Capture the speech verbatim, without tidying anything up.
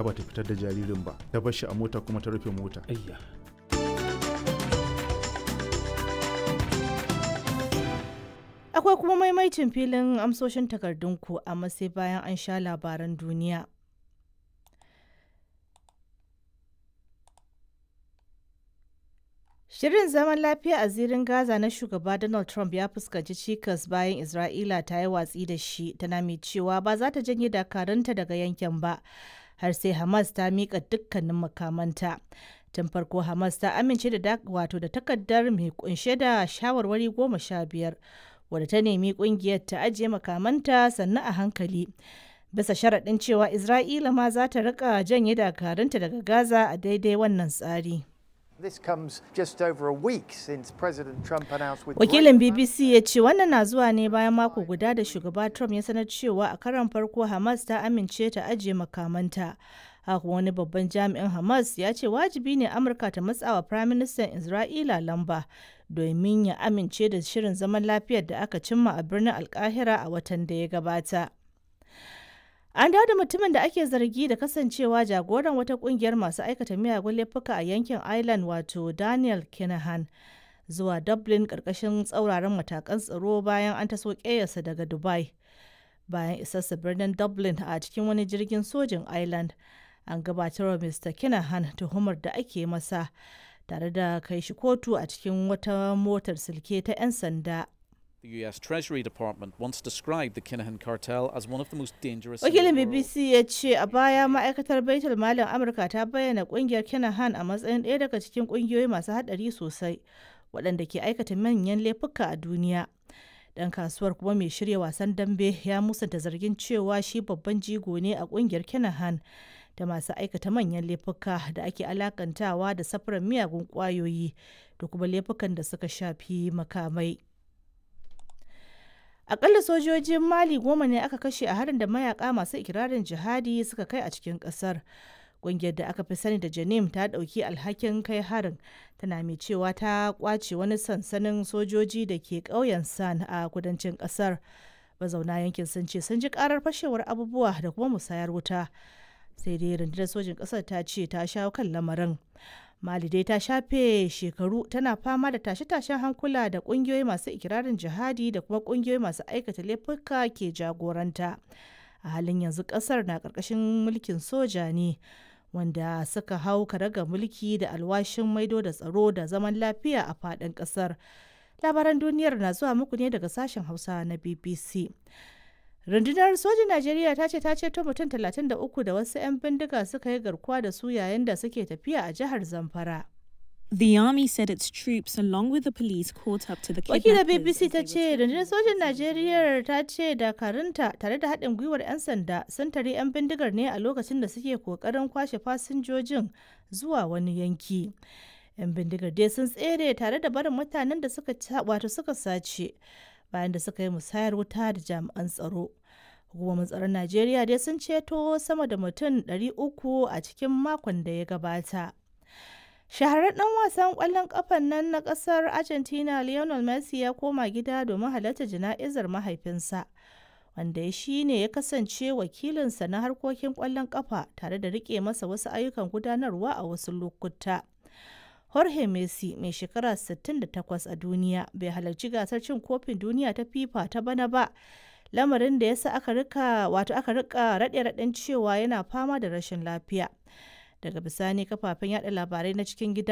Ba ta fitar da jaririn ba, ta bar shi a mota kuma ta rufe mota. Ayya. Akwai kuma maimaicin filin amsoshin takardunku, amma sai bayan an sha labaran duniya. Shirin zaman lafiya a zirin Gaza na shugaba Donald Trump ya fuskanci cikas bayan Isra'ila ta yi watsi da shi, tana mai cewa ba za ta janye dakarunta daga yankin ba har sai Hamas ta miƙa dukkanin makamanta. Tun farko Hamas ta amince da wato da takardar mai kunshe da shawarwari goma sha biyar wadda ta nemi kungiyar ta ajiye makamanta sannu a hankali, bisa sharaɗin cewa Isra'ila ma za ta rika janye dakarunta daga Gaza a daidai wannan tsari. This comes just over a week since President Trump announced with Wakilin B B C ya ce wannan na zuwa ne bayan mako guda da shugaba Trump ya sanar cewa a karon farko Hamas ta amince ta ajiye makamanta. Haka wani babban jami'in Hamas ya ce wajibi ne Amurka ta matsawa Firaministan Isra'ila lamba domin ya amince da shirin zaman lafiyar da aka cimma a birnin Alkahira a watan da ya gabata. An dawo da mutumin da ake zargi da kasancewa jagoran wata kungiyar masu aikata miyagun laifuka a yankin Ireland, wato Daniel Kinahan, zuwa Dublin karkashin tsauraran matakan tsaro bayan an taso ƙeyarsa daga Dubai. Bayan isarsa birnin Dublin a cikin wani jirgin sojin Ireland, an gabatarwa Mister Kinahan tuhumar da ake masa tare da kai shi kotu a cikin wata motar silke ta 'yan sanda. The U S Treasury Department once described the Kinahan cartel as one of the most dangerous in the Wakilin world. B B C ya ce a baya ma'aikatar Baitul Malin Amurka ta bayyana kungiyar Kinahan a matsayin ɗaya daga cikin kungiyoyi masu haɗari sosai waɗanda ke aikata manyan laifuka a duniya. Ɗan kasuwar kuma mai shirya wasan dambe ya musanta zargin cewa shi babban jigo ne a kungiyar Kinahan da masu aikata manyan laifuka da ake alakantawa da safarar miyagun ƙwayoyi da kuma laifukan da suka shafi makamai. Akalla sojojin Mali goma ne aka kashe a harin da mayaka masu ikirarin jihadi suka kai a cikin kasar. Ƙungiyar da aka fi sani da Janim ta ɗauki alhakin kai harin, tana mai cewa ta kwace wani sansanin sojoji da ke ƙauyen San a kudancin ƙasar. Mazauna yankin sun ce sun ji ƙarar fashewar abubuwa da kuma musayar wuta. Sai dai rundunar sojin ƙasar ta ce ta shawo kan lamarin. Mali dai ta shafe shekaru tana fama da tashe-tashen hankula da kungiyoyi masu ikirarin jihadi da kuma kungiyoyi masu aikata laifuka ke jagoranta. A halin yanzu kasar na karkashin mulkin soja ne wanda suka hau karaga mulki da alwashin maido da tsaro da zaman lafiya a faɗin kasar. Labaran duniyar na zuwa muku ne daga sashen Hausa na B B C. Rundunar sojin Najeriya ta ce ta ceto mutum talatin da uku da wasu 'yan bindiga suka yi garkuwa da su yayin da suke tafiya a jihar Zamfara. The army said its troops, along with the police, caught up to the Wakilar kidnappers B B C as ta they were ce taken rundunar sojin Najeriya ta ce dakarunta tare da haɗin gwiwar 'yan sanda sun tare 'yan bindigar ne a lokacin da suke kokarin kwashe fasinjojin zuwa wani yanki. 'Yan bindigar dai sun tsere tare da barin mutanen da suka wato suka sace bayan da suka yi musayar wuta da jami'an tsaro. Hukumomin tsaron Najeriya dai sun ceto sama da mutum ɗari uku a cikin makon da ya gabata. Shahararren ɗan wasan ƙwallon ƙafan nan na ƙasar Argentina Lionel Messi ya koma gida domin halartar jana'izar mahaifinsa, wanda shi ne ya kasance wakilinsa na harkokin ƙwallon ƙafa tare da riƙe masa wasu ayyukan gudanarwa a wasu lokuta. Jorge Messi mai shekara sittin da takwas a duniya bai halarci gasar cin kofin duniya ta FIFA ta bana ba, lamarin da ya sa aka rika wato aka rika raɗe-raɗen cewa yana fama da rashin lafiya. Daga bisani kafafen yada labarai na cikin gida